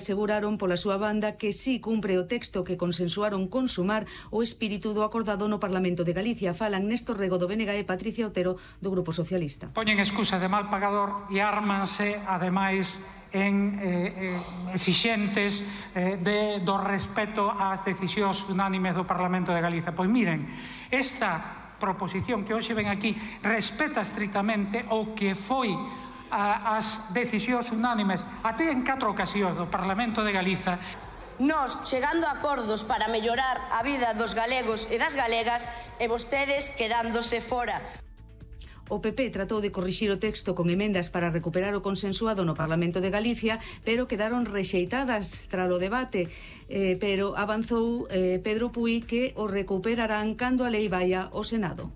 aseguraron pola súa banda que sí cumpre o texto que consensuaron con Sumar o espírito do acordado no Parlamento de Galicia. Falan Néstor Rego do BNG e Patricia Otero do Grupo Socialista. Poñen excusa de mal pagador e ármanse, ademais, en exixentes do respeto ás decisións unánimes do Parlamento de Galicia. Pois miren, esta proposición que hoxe ven aquí respeta estritamente o que foi as decisións unánimes até en 4 ocasións do Parlamento de Galiza. Nós chegando a acordos para mellorar a vida dos galegos e das galegas e vostedes quedándose fora. O PP tratou de corrixir o texto con emendas para recuperar o consensuado no Parlamento de Galicia, pero quedaron rexeitadas tras o debate. Pero avanzou Pedro Puig que o recuperarán cando a lei vaia ao Senado.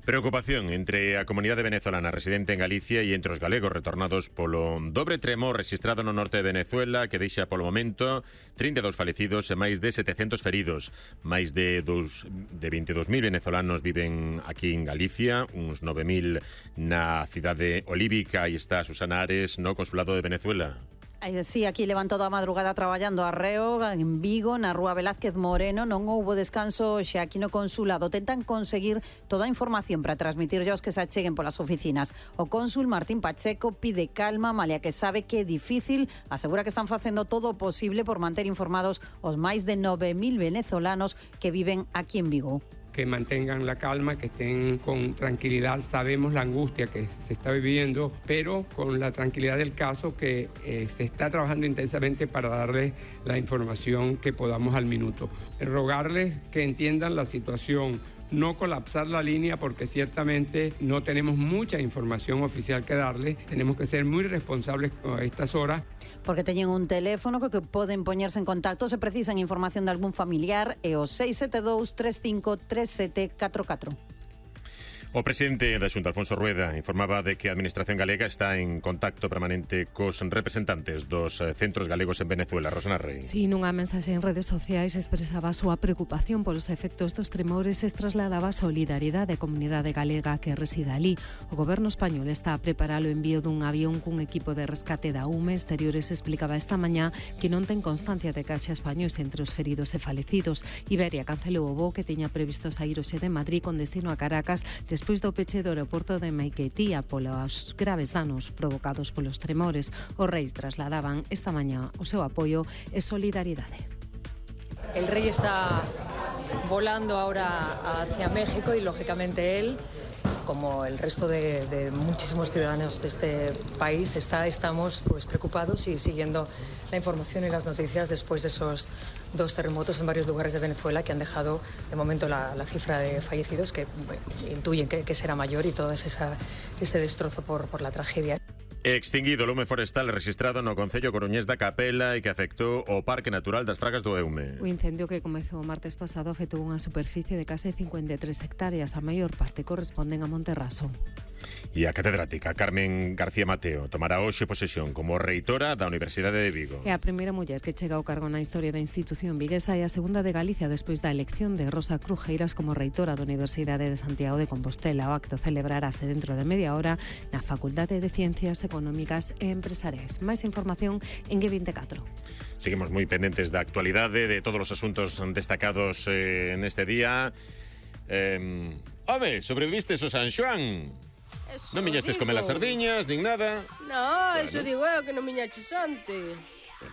Preocupación entre a comunidade venezolana residente en Galicia e entre os galegos retornados polo dobre tremor registrado no norte de Venezuela que deixa polo momento 32 falecidos e máis de 700 feridos. Máis de 22.000 venezolanos viven aquí en Galicia, uns 9.000 na cidade olívica. Aí está Susana Ares no Consulado de Venezuela. Sí, aquí levan toda a madrugada traballando arreo en Vigo, na Rúa Velázquez Moreno. Non houbo descanso xa aquí no consulado. Tentan conseguir toda a información para transmitir aos que se acheguen polas oficinas. O cónsul Martín Pacheco pide calma, malia que sabe que é difícil. Asegura que están facendo todo o posible por manter informados os máis de 9.000 venezolanos que viven aquí en Vigo. Que mantengan la calma, que estén con tranquilidad. Sabemos la angustia que se está viviendo, pero con la tranquilidad del caso que se está trabajando intensamente para darles la información que podamos al minuto. Rogarles que entiendan la situación, no colapsar la línea porque ciertamente no tenemos mucha información oficial que darles. Tenemos que ser muy responsables a estas horas. Porque teñen un teléfono que poden poñerse en contacto se precisan información de algún familiar e o 672 35 3744. O presidente da Xunta, Alfonso Rueda, informaba de que a Administración galega está en contacto permanente cos representantes dos centros galegos en Venezuela. Rosana Rey. Si, nunha mensaxe en redes sociais expresaba a súa preocupación polos efectos dos tremores e trasladaba solidariedade á comunidade galega que reside ali. O goberno español está a preparar o envío dun avión cun equipo de rescate da UME. Exteriores explicaba esta mañá que non ten constancia de que haxa españois entre os feridos e falecidos. Iberia cancelou o voo que tiña previsto saír hoxe de Madrid con destino a Caracas despois do peche do aeroporto de Maiquetía polos graves danos provocados polos tremores. Os reis trasladaban esta mañá o seu apoio e solidariedade. El rey está volando ahora hacia México y lógicamente él, como el resto de muchísimos ciudadanos de este país, estamos pues preocupados y siguiendo la información y las noticias después de esos 2 terremotos en varios lugares de Venezuela que han dejado de momento la cifra de fallecidos que intuyen que será mayor y todo ese destrozo por la tragedia. Extinguido o lume forestal registrado no concello coruñés da Capela e que afectou o Parque Natural das Fragas do Eume. O incendio que comezou o martes pasado afectou unha superficie de case 53 hectáreas, a maior parte corresponden a Monterraso. E a catedrática Carmen García Mateo tomará hoxe posesión como reitora da Universidade de Vigo. É a primeira muller que chega ao cargo na historia da institución viguesa e a segunda de Galicia despois da elección de Rosa Crujeiras como reitora da Universidade de Santiago de Compostela. O acto celebrarase dentro de media hora na Facultade de Ciencias Económicas e Empresariais. Máis información en G24. Seguimos moi pendentes da actualidade, de todos os asuntos destacados neste día. Home, sobrevistes o San Xoán? Non miñastes comer as sardiñas, nin nada. No, bueno. Eso digo eu, que non miñaches antes.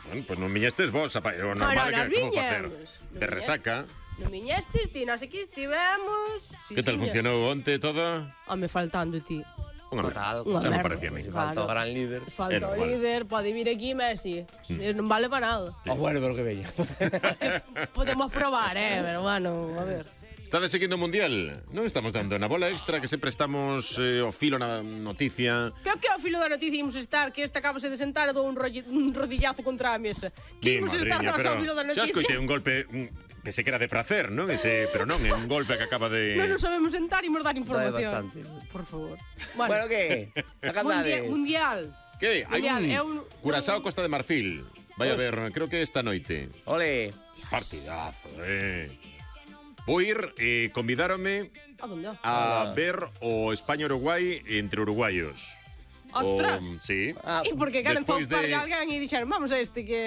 Bueno, pues non miñastes vos, o normal que como facer de resaca. Non miñastes ti, nós aquí estivemos. Que tal funcionou onte todo? Home, faltando ti. Unha xa me parecía a mí. Falta o gran líder. Falta o líder, pode vir aquí Messi. Non vale para nada. Bueno, pero que veña. Podemos probar, pero bueno, a ver. Estades seguindo o Mundial? Non estamos dando na bola extra, que sempre estamos ao filo na noticia. Pero que ao filo da noticia imos estar? Que este acabase de sentar e dou un rodillazo contra a mesa. Que imos estar nós ao filo da noticia? Xa escoitei un golpe... Pensei que era de prazer, non? Pero non, é un golpe que acaba de... Non nos sabemos sentar e imos dar información. Por favor. Bueno, que? Mundial. Que? Hai un Curazao Costa de Marfil. Vai a ver, creo que esta noite. Ole. Partidazo, Vou ir, convidáronme a ver o España-Uruguai entre uruguayos. Ostras. Sí. E porque queren zompar que alguén e dixeron, vamos a este que...